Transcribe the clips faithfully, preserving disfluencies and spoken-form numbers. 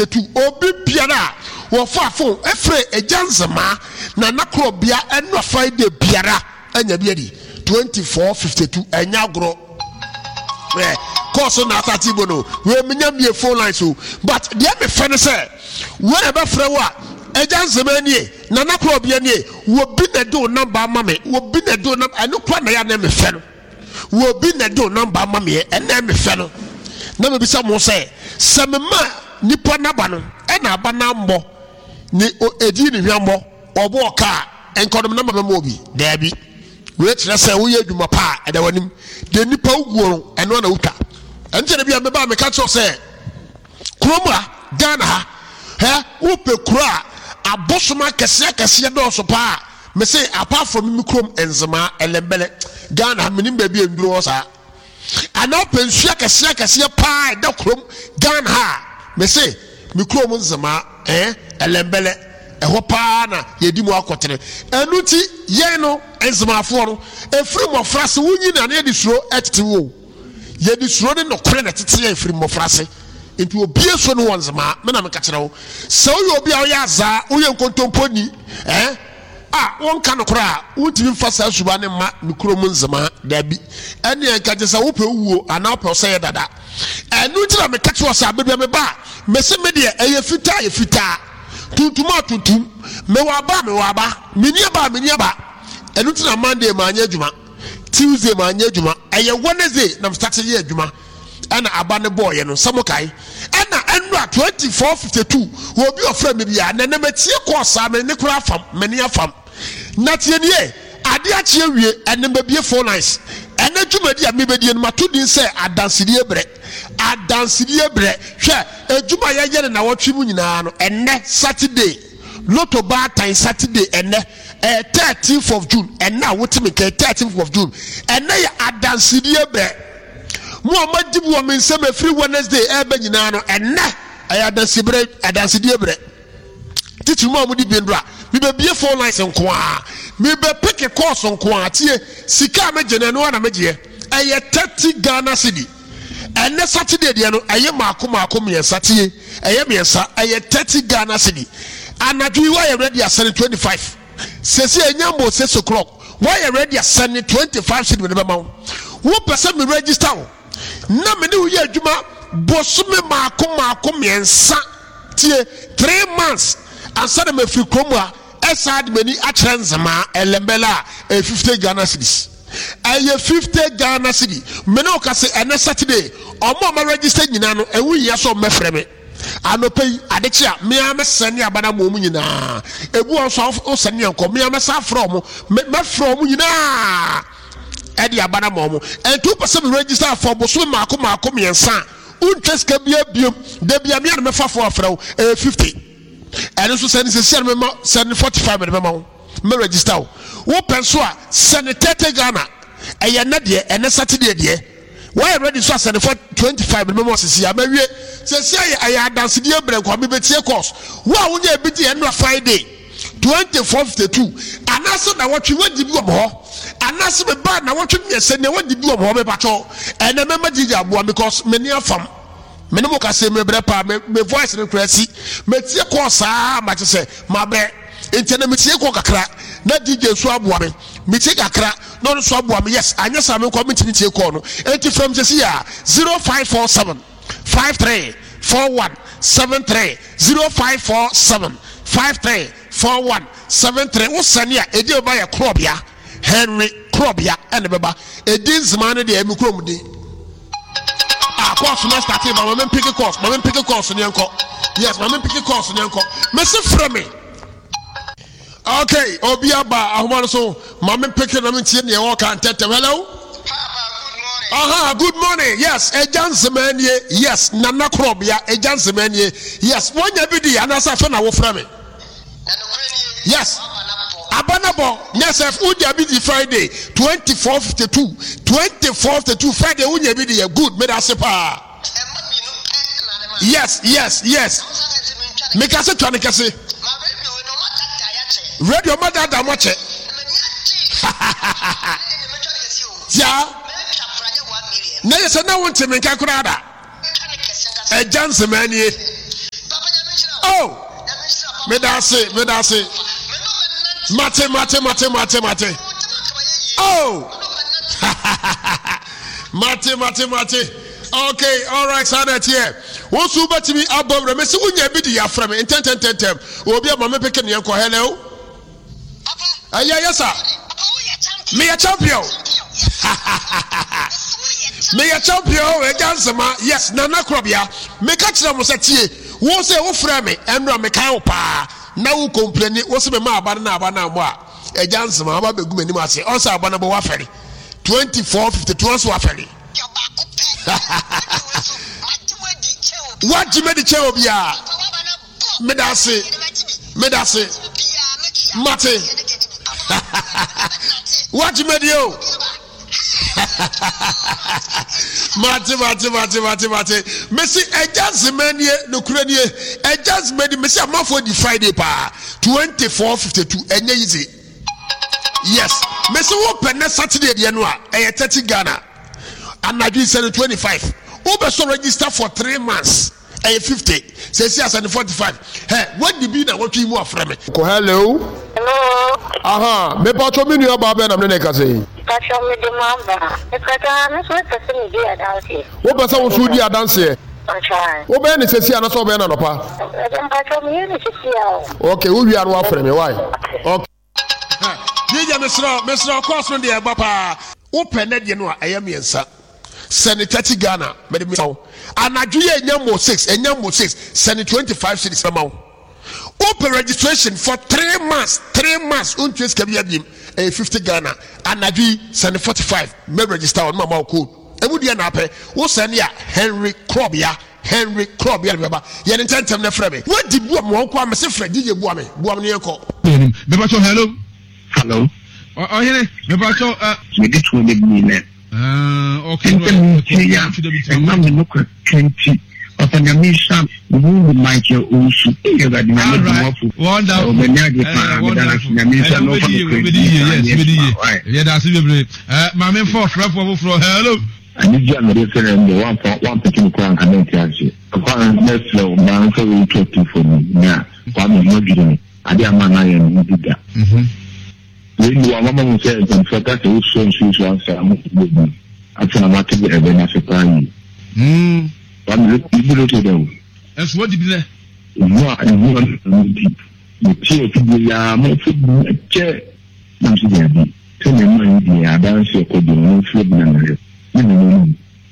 Tu obi biara a wɔfa phone ɛfrɛ Agya Nzemaa Nana Korɔbea ɛno Friday biara anya bi adi twenty four fifty two ɛnyɛ agorɔ. Ɛ kɔɔso na asate bo no wei menya mie phone lines o, but deɛ mefɛ no sɛ wei na ɛbɛfrɛ wo a, Agya Nzemaa nie, Nana Korɔbea nie, wɔbi na ɛde wo number ama me, wɔbi na ɛde wo number, ɛno kora na yɛ a na mefɛ no. Wɔbi na ɛde wo number ama me, ɛna mefɛ no. Na mebisa mo sɛ sɛ mema nipa naba no ɛna aba na mbɔ ne edi ne hwambɔ ɔbɔ ɔka a nkɔdom namba bɛma obi daabi. Wei kyerɛ sɛ woyɛ adwuma pa a ɛda w'anim deɛ nipa woguo no ɛno na wotwa. Ɛnkyɛn bi a meba a meka kyerɛ sɛ kurom ha Ghana ha hɛ wopɛ kuro a abosom akɛseɛ akɛseɛ dɔɔso paa, mese apart from mi kurom Nzemaa Ɛlɛmbɛlɛ, Ghana ha menim baabi a nduro wɔ saa. Anaa wopɛ nsuo akɛseɛ akɛseɛ paa ɛda kurom Ghana ha a, mese me kurom Nzemaa ɛɛ Ɛlɛmbɛlɛ ɛhɔ paa na yɛdi mu akɔtene. Ɛno nti yɛn no Nzemaafoɔ no ɛfiri mmɔfra se wonyi na ne yɛde suro ɛtete wo, yɛde suro ne nɔkorɛ na ɛtete yɛn firi mmɔfra se. Nti obie so no wɔ Nzemaa. Me na meka kyerɛ wo sɛ woyɛ obi a woyɛ azaa, woyɛ nkontomponi ɛɛ a wonka nokorɛ a, wontumi mfa saa suba ne mma me kurom Nzemaa daabi. Ɛne ɛnka kyerɛ sɛ wopɛ wuo anaa wopɛ sɛ yɛ dada. Ɛno nti na meka kyerɛ sɛ abɛbia me ba a, mese me deɛ ɛyɛ fitaa yɛ fitaa, tuntum a tuntum, mewɔ aba a mewɔ aba, menni aba a menni aba. Ɛno nti na Monday maanyɛ adwuma, Tuesday maanyɛ adwuma, ɛyɛ Wednesday na mestarte yɛ adwuma ɛna aba ne bɔɔyɛ no sɛ mo kae. Ɛna ɛnora twenty four fifty two obi ɔfrɛ me bia na ɛnɛ matie kɔɔ saa me ne koraa fam me ne afam na tie nie ade akye awie. Ɛnɛ mabie phone lines. Ɛnɛ dwumadi a mebɛdie no mato din sɛ adansedie berɛ, adansedie berɛ. Hwɛ adwuma yɛyɛ no na wɔtwe mu nyinaa no, ɛnɛ Saturday Lotto baatan Saturday, ɛnɛ ɛyɛ thirteenth of June. Ɛnɛ a wote me nka thirteenth of June, ɛnɛ yɛ adansedie berɛ. Mo a moagye bi wɔ me nsam ɛfiri Wednesday ɛɛbɛ nyinaa no, ɛnɛ ɛyɛ adanseberɛ, adansedie berɛ. Titiri mu a mode bi ndora, mebɛbie phone lines nko a, mebɛpeke calls nko a. Tie, sika a megye no ɛno ara na megyeɛ, ɛyɛ thirty Ghana cedi. Ɛnɛ Saturday deɛ no ɛyɛ maako maako mmiɛnsa. Tie, ɛyɛ mmiɛnsa, ɛyɛ thirty Ghana cedi. Anadwo yi woayɛ ready asɛne twenty five sɛsi ɛnya mbɔ six o'clock, woayɛ ready asɛne twenty five cedi mede bɛma wo. Wopɛ sɛ me register wo na me ne wo yɛ adwuma bosome maako maako mmiɛnsa, tie, three months ansa na mafiri kurom a ɛsaa de m'ani akyerɛ Nzemaa Ɛlɛmbɛlɛ a, ɛyɛ fifty Ghana cedis, ɛyɛ fifty Ghana cedi. Me ne wo ka sɛ ɛnɛ Saturday ɔmo a ma register nyinaa no, ɛho hia sɛ ɔmo bɛfrɛ me anɔpɛ yi adekye a mmea mɛsɛne aba no ama ɔmo nyinaa. Ebi wɔn nso a wosɛne yɛn kɔ mmea mɛsa afrɛ ɔmo, mɛfrɛ ɔmo nyinaa ɛde aba no ama ɔmo. Ɛnti wopɛ sɛ me register afɔ bosome maako maako mmiɛnsa a, wontwa sika bia biom da bia mmea no mɛfa fo afrɛ wo, ɛyɛ fifty. Ɛno nso sɛne sɛsi a no mɛma sɛne forty five mɛde bɛma wo mɛ register wo. Wopɛ nso a sɛne thirty Ghana. Ɛyɛ ɛnɛ deɛ, ɛnɛ Saturday deɛ wɔyɛ ready nso a sɛne for twenty five mɛde bɛma wo sisi a mɛwie. Sɛsi ayɛ ɛyɛ adansedie berɛ nkwa mebɛtie course. Wo a wonya ebi di ɛnora Friday twenty four fifty two anaasɛ na wɔtwe wɔdi bi wɔ mo hɔ anaasɛ meba na wɔtwe mmiɛnsa nea wɔdi bi wɔ mo hɔ, mepatwɔ ɛnɛ mɛma gyigya aboa because me ne afam me ne mo kasa me brɛ paa, me me voice no kura si metie kɔɔ saa ma kyɛ sɛ mabrɛ. Nti ɛnɛ metie kɔɔ kakra na D J nso aboa me, metie kakra na ɔno nso aboa me. Yes, anyɛ saa me nkɔ mentumi tie kɔɔ no. Nti frɛ me sɛsi a zero five four seven five three four one seven three, zero five four seven five three four one seven three. Wo sɛne a ɛdi bɛba yɛ Korɔbea Henry Korɔbea ɛna bɛba. Ɛdi Nzemaa no deɛ ɛmi kurom din. Ah, course na start ba ma me mpeke course, ma me mpeke course ne nkɔ. Yes, ma me mpeke course ne nkɔ. Mesi frɛ me. Okay, obi aba ahoma no so, ma me mpeke na me ntie nea wɔka ntɛntɛm. Hello. Aha, good morning. Yes, Agya Nzemaa nie. Yes, Nana Korɔbea, Agya Nzemaa nie. Yes, wonya bi di anaasɛ afɛ na wofrɛ me. Yes, aba na bɔ nyɛ sɛ wonya bi di Friday twenty four fifty two, twenty four fifty two Friday wonya bi di yɛ good, meda ase paa. Yes, yes, yes. Meka sɛ twa ne kɛse. Radio ma dada mo akyɛ. Tia. Na yɛ sɛ na wonte me nka koraa da. Agya Nzemaa nie. Meda ase, meda ase. Mate, mate, mate, mate, mate. Oh! Mate, mate, mate. Okay, all right, saa na ɛteɛ. Wo nso wobɛtumi abɔ werɛ. Mese wonya bi de yɛafrɛ me ntɛntɛntɛntɛm. Obi a ma me peke ne yɛnkɔ. Hello? Ɛyɛ yɛ sa. Meyɛ champion. Meyɛ champion. Ɛgya nsɛma. Yes, Nana Korɔbea. Meka kyerɛ mo sɛ tie. Wo sɛ wofrɛ me ɛnora mekae wo paa. Na wo kompleni wo sɛ mema aba no na aba no ammɔ a. Ɛgya nsɛma aba bɛgu m'anim ase. Ɔsɛ aba no bɔ wafɛre. twenty-four fifty-two nso wafɛre. Wagye me de kyɛn obiara. Meda ase. Meda ase. Mate. Wagye me de o. Mate, mate, mate, mate, mate. Mesi ɛgya nzema nie, nokura nie. Ɛgya nzema ni, mesi amanfoɔ di Friday paa. twenty-four fifty-two, ɛnyɛ easy. Yes. Mesi wo pɛ ne Saturday deɛ no a, ɛyɛ thirty Ghana. Anadwo sɛ no twenty-five. Wobɛ so register for three months. Ɛyɛ fifty. Sɛsi asɛ no forty-five. Hɛ, wadi bi na wɔtwe mu afrɛ me. Ko hello. Hello. Aha, me patro me nua baa bɛn na me ne ne kasa yi. Patro me de ma ba. Me patro me so pɛ sɛ me di adanseɛ. Wo pɛ sɛ wo so di adanseɛ? Patro. Wo bɛyɛ ne sɛsi ana sɛ wo bɛyɛ na nɔpa? Patro me yɛ ne sɛsi a o. Okay, wo wia no wafrɛ me why? Okay. D J mesrɛ mesrɛ course no deɛ ɛba paa. Wo pɛ ne deɛ no a ɛyɛ mmiɛnsa. Sɛne thirty Ghana mede ma wo. Anadwo yɛ nya mo six enya mo six sɛne twenty-five cedis ma wo. Wopɛ registration for three months three months wontua sika bi abiem ɛyɛ fifty Ghana. Anadwo yi sɛne forty-five mɛ register wo no ma wo code. Emu deɛ na apɛ wo sɛne a Henry Krobia Henry Krobia ne bɛba yɛ ne ntɛntɛm na frɛ me. Wadi bua me wɔn kɔ a mese frɛ D J bua me bua me ne yɛn kɔ. Mepacho hello. Hello. Ɔhene mepacho. Mede tuo de bi nɛ. Ah, okay. Ntɛm nti ya ɛnam ne nokorɛ ka nti papa Nyame nhyira me hu Michael Owusu ee Awurade Nyame boafo Wonderful. Ɔbɛni ade paa meda no ase Nyame nhyira no ɔfa nokorɛ di saa ne adwuma why. Yɛda ase bebree. Eh, maame mfa ɔfrɛfoɔ foforɔ. Hello. Anigye a mede frɛ no deɛ woamfa woampete me koraa anka mente aseɛ. Papa mɛsrɛ wo ma mfa wei nto atiefo anim na Kwame ho adwiri me adeɛ a maa no ayɛ no ho bi da. Wei ni wama mahu sɛ mpanyinfoɔ ka sɛ wosɔ nsuo so ansa a mo bɔ bi afei na mate ɛbɛ no ase paa yie. Kwame mebu no to dɛ o. Ɛnso wadi bi nɛ. Ehu a ehu a no nti metie afidie yi ara mafo bi kyɛ na mese daabi sɛnea ɛma yi deɛ adanse ɛkɔ deɛ ɔno mfrɛ bi na mehwɛ ne ne no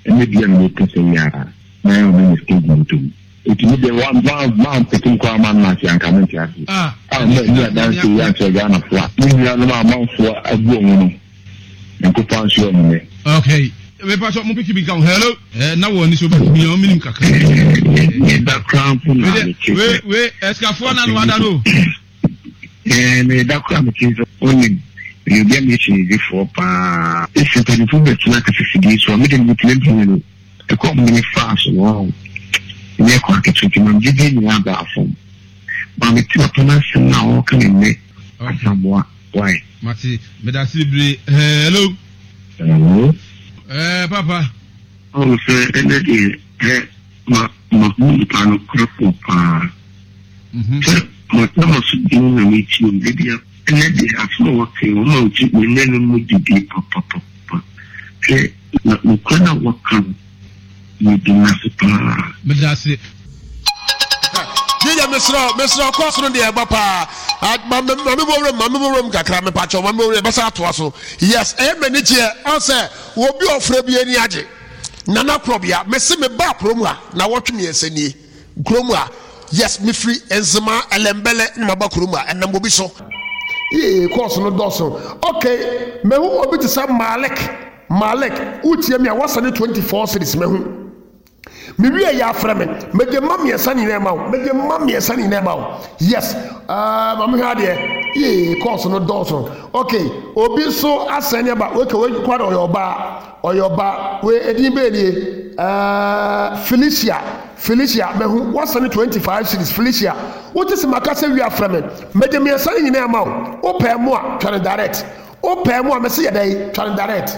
ɛnɛ bia na mekasa yi ara na ɛyɛ ɔno ne stage moto mu eti mi deɛ wa wa wa mpete nkɔ ama nna ase anka mente ase Ah. a mɛ ni adanse yi ankyerɛ Ghanafoɔ a me nuanom a amanfoɔ agu wɔn no nkɔfa nso ɔmo nɛ. Okay. Mepacho mo piki bi nka ho. Hello. Eh, na wɔ ni so bɛtumi yɛ ɔmenim kakra. Meda koraa mpo na mete We sɛ we esikafoɔ na no wada no. ɛɛ meda koraa mete sɛ onim meyɛ obi a meyɛ kyinyidifoɔ paa. Esi mpanyinfoɔ bɛtena kasafidie so a mede metena bi no ɛkɔ mene faa so no ɔho nyɛ kɔ aketewa nti mam gyidie nyinaa baa fam ma mete papa no asɛm no a ɔreka ne nnɛ Asamoa why. Mate meda ase bebree. Hello. Hello. Eh, papa. Ɔn sɛ ɛnɛ deɛ ɛ ma ma hu nipa no korɛfoɔ paa. Sɛ ma na ma so gyina na metie mu ebi a ɛnɛ deɛ asɛm a wɔka yi wɔn a wɔgye me nɛ no mu didi papapapa. Hwɛ na nokorɛ no a wɔka no medi n'ase paa. Meda ase. Yíyẹ mesrɛ mesrɛ kɔɔso no deɛ ɛba paa ma me ma me bɔ wuram ma me bɔ wuram kakra me pakyɛw ma me bɔ wuram ɛbɛsa atoa so yes ɛyɛ m'ani gyeɛ ɔsɛ obi ɔfrɛ bi ani agye Nana Korɔbea mesi me ba kurom a na wɔtwe mmiɛnsa nie kurom a yes mefiri Nzema Ɛlɛmbɛlɛ na maba kurom a ɛnam obi so yee kɔɔso no dɔɔso okay mehu obi te sɛ Malik Malik wotie mi a wɔsɛne twenty-four cities mehu me wie yɛ afrɛ me mede ma mmiɛnsa nyinaa ma wo mede ma mmiɛnsa nyinaa ma wo yes ɛɛ maame hwɛ adeɛ yee kɔɔso no dɔɔso okay obi nso asɛn ne aba okay wei kora de ɔyɛ ɔbaa ɔyɛ ɔbaa wei edin bɛyɛ nie ɛɛ Felicia Felicia mehu wɔsɛne twenty-five cities Felicia wote sɛ maka sɛ wie afrɛ me mede mmiɛnsa nyinaa ma wo wopɛɛ mu a twa no direct wopɛɛ mu a mɛsɛ yɛ dɛ twa no direct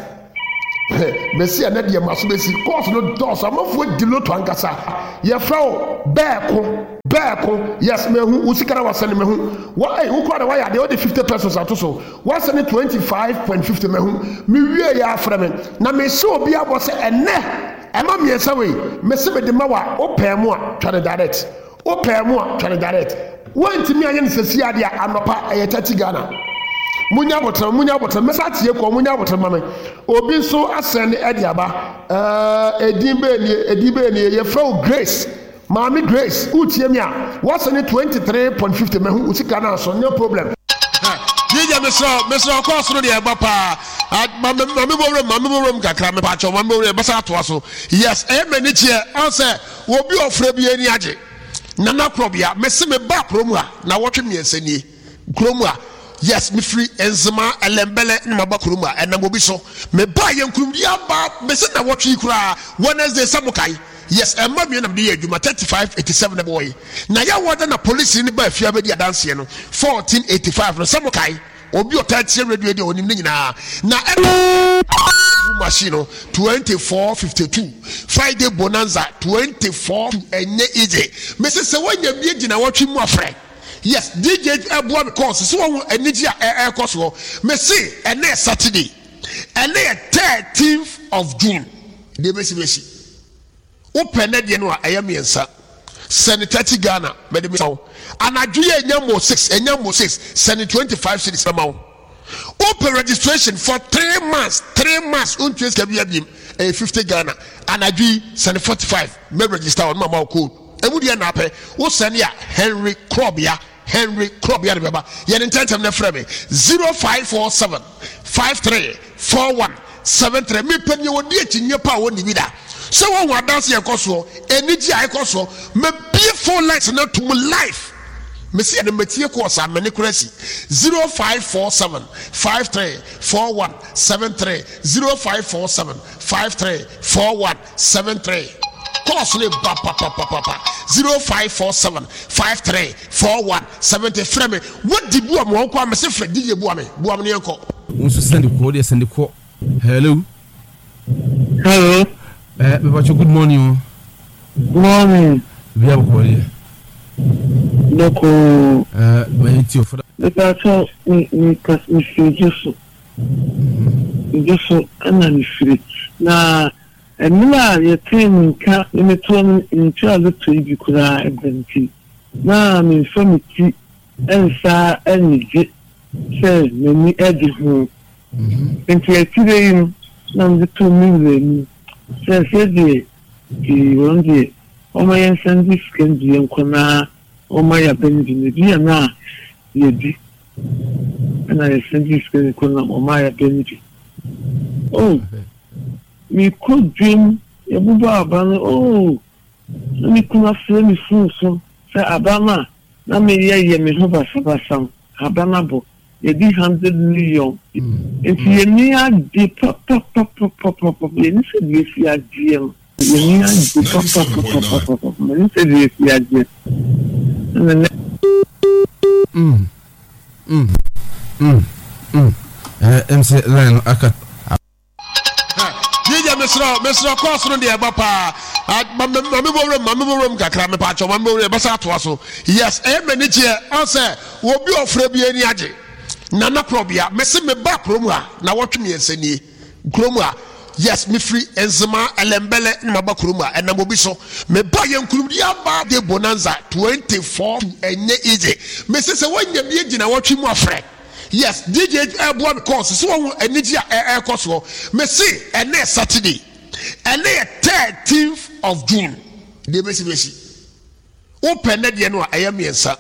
Mesi ɛnɛ deɛ ma so bɛsi course no dɔɔso. Amanfoɔ di lotto ankasa. Yɛfrɛ wo Bɛɛko Bɛɛko. Yes, mehu wo sika na wasɛne. Mehu wa ɛy wo kora na wayɛ adeɛ, wode fifty pesos ato so, wasɛne twenty five point fifty. Mehu mewie yɛ afrɛ me na mehyɛ obi abɔ sɛ ɛnɛ ɛma mmiɛnsa wei mese mede ma wa. Wopɛɛ mu a, twa ne direct. Wopɛɛ mu a, twa ne direct. Woantumi anyɛ no sɛsi adeɛ a, anɔpa ɛyɛ thirty Ghana. Munya abotire, munya abotire, mɛsa atie kɔ. Munya abotire ma me. Obi nso asɛn ne ɛde aba. ɛɛ edin bɛɛ nie, edin bɛɛ nie. Yɛfrɛ wo Grace, Maame Grace. Wotie mi a, wɔsɛn ne twenty three point fifty. Mɛhu wo sika naa so, no problem. D J, mesrɛ mesrɛ, ɔkɔɔ soro deɛ, ɛba paa. Maame bɔwuram, maame bɔwuram kakra, mepaakyɛw, maame bɔwuram, ɛbɛsa atoa so. Yes, ɛyɛ m'ani kyeɛ ɔn sɛ obi ɔfrɛ bi ani agye. Nana Korɔbea, mese me ba kurom a na wɔtwe mmiɛnsa nie kurom a. Yes, mefiri Nzema Ɛlɛmbɛlɛ na maba kurom a ɛnam obi so. Meba yɛ nkurumdi aba. Mese na wɔtwe yi koraa, Wednesday sɛ mo kae. Yes, ɛma mmiɛ nam de yɛ adwuma. Thirty five eighty seven na bɔɔ yi na yɛ wɔda na polisi ne ba afia bɛdi adanseɛ no fourteen eighty five no sɛ mo kae. Obi ɔtaa tie radio deɛ, ɔnim ne nyinaa. Na ɛna machine no twenty four fifty two, Friday Bonanza twenty four. Ɛnyɛ easy. Mese sɛ woanya bi gyina wɔtwe mu afrɛ. Yes, D J ɛboa me course sɛ wɔn anigye a ɛrekɔ soɔ. Mese ɛnɛ Saturday, ɛnɛ yɛ thirteenth of June deɛ, bɛsi bɛsi wopɛ nɛ deɛ no a, ɛyɛ mmiɛnsa. Sɛne thirty Ghana, mɛde mi wo. Anadwo yɛ ɛnya mo six, ɛnya mo six, sɛne twenty five cedis bɛma wo. Wopɛ registration for three months, three months wontua sika bi abiem, ɛyɛ fifty Ghana. Anadwo yi sɛne forty five, mɛ register wɔn mama wo code. Emu deɛ na apɛ, wosɛne a, Henry Krɔbea, Henry Krɔbea de bɛba. Yɛne ntɛntɛm no, frɛ me zero five four seven five three four one seven three. Mepɛ deɛ wɔdi akyinnye pa a wɔnni bi da sɛ wɔhu adanse ɛkɔ soɔ, anigye a ɛkɔ soɔ. Mabie phone lines no ato mu live. Mesi ɛno matie kɔɔ saa mene kora si zero five four seven five three four one seven three, zero five four seven five three four one seven three. Kɔɔso ne ba papapapa, zero five four seven five three four one seven three. Frɛ me. Wodi bu a mo nkɔ a, mese frɛ D J. Bua me, bua me ne yɛnkɔ. Wo nso sɛnde kɔ, wodeɛ sɛnde kɔ. Hello. Hello. Eh, mepakyɛ, good morning o. Morning. Bia bɔkɔ deɛ? Bɔkɔ. Eh, mayɛ ti ɔfo. Mepakyɛ, me me kas mefiri gye so. Gye so ɛna mefiri. Na mmerɛ a yɛtee me nka ne metoɔ no, ntua lotto yi bi koraa ɛda nti na memfa me ti nsa anigye sɛ m'ani agye ho. Nti akyire yi no na mede too me wura anim sɛ sɛdeɛ pii wɔn deɛ wɔma yɛnsan gye sika no bi yɛnkɔ na wɔma yɛaba no bi na bi a na yɛdi ɛna yɛsan gye sika no kɔ na wɔma yɛaba no bi. Oh, mekɔ dwam, yɛbobɔ aba no. Oh, na me kunu afrɛ me phone so sɛ aba no a na meyɛ yɛ me ho basabasa no, aba no abɔ, yɛdi hundred million. Nti yɛni agye papapapapapa. Yɛni sɛ deɛ esi agyeɛ no, yɛni agye papapapapapa. Yɛni sɛ deɛ esi agyeɛ ɛna nɛ. Mm, mm, mm, mm. Eh, ɛm sɛ line no aka. D J, mesrɛ mesrɛ, kɔɔso no deɛ, ɛba paa. Maame bɔwuram, maame bɔwuram kakra, mepaakyɛw, maame bɔwuram, ɛbɛsa atoa so. Yes, ɛyɛ m'ani kyeɛ ɔn sɛ obi ɔfrɛ bi ani agye. Nana Korɔbea, mese me ba kurom a na wɔtwe mmiɛnsa nie kurom a. Yes, mefiri Nzema Ɛlɛmbɛlɛ na maba kurom a ɛnam obi so. Meba yɛ nkurumdi aba de Bonanza twenty four. Ɛnyɛ easy. Mese sɛ woanya bi gyina wɔtwe mu afrɛ. Yes, D J ɛboa me course sɛ wɔhu anigye a ɛrekɔ soɔ. Mese ɛnɛ Saturday, ɛnɛ yɛ thirteenth of June deɛ, bɛsi bɛsi wopɛ nɛ deɛ no a, ɛyɛ mmiɛnsa.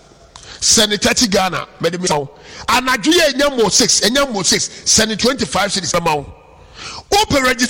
Sɛne thirty Ghana, mɛde mi wo. Anadwo yɛ ɛnya mo six, ɛnya mo six, sɛne twenty five cedis bɛma wo. Wopɛ registration